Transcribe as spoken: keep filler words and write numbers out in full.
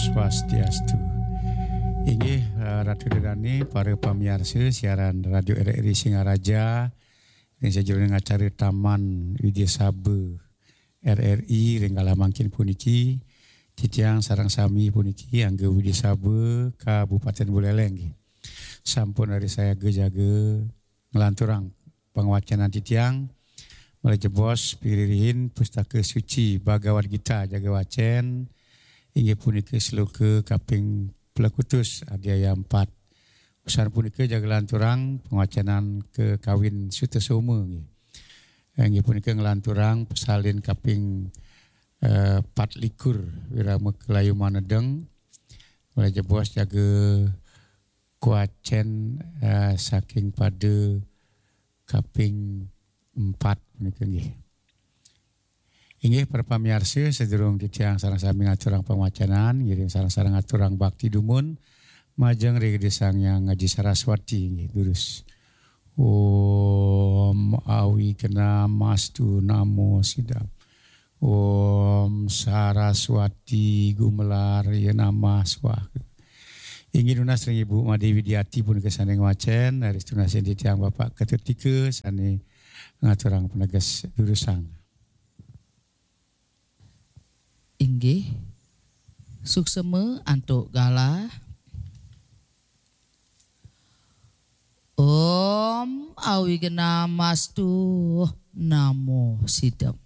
Swastiastu. Inggih, eh, Ratu Dedani, para pamiarsa siaran Radio R R I Singaraja, ring sajeroning acara Taman Widya Saba R R I ring galah mangkin puniki, titiang sareng sami puniki angga Widya Saba Kabupaten Buleleng nggih. Sampun ari sayaga jaga nglanturang pangwacenan titiang, malih jebos piririhin Pustaka Suci Bhagavad Gita jaga wacen, inggih punika sloka kaping plekutus, adhyaya empat. Usan punika jaga lanturang pangwacenan kakawin Sutasoma nggih. Inggih punika nglanturang pasalin kaping, eh, patlikur, Wirama Kalayu Manedeng, malih jebos jaga kawacen, eh, saking pada kaping empat punika nggih. Inggih, para pamiarsa, sadurung titiang sareng sami ngaturang pangwacenan, ngiring sareng-sareng ngaturang bakti dumun majeng ring Ida Sang Hyang Aji Saraswati nggih, durus. Om Awighnamastu Namo Siddham. Om Saraswati Gumelar ya Namah Swaha. Inggih nunas ring Ibu Made Widiati punika sane ngwacen, raris tunasin titiang Bapak Ketut Tika sane ngaturang paneges durusang. Inggih. Suksema antuk galah. Om Awighnamastu Namo Siddham.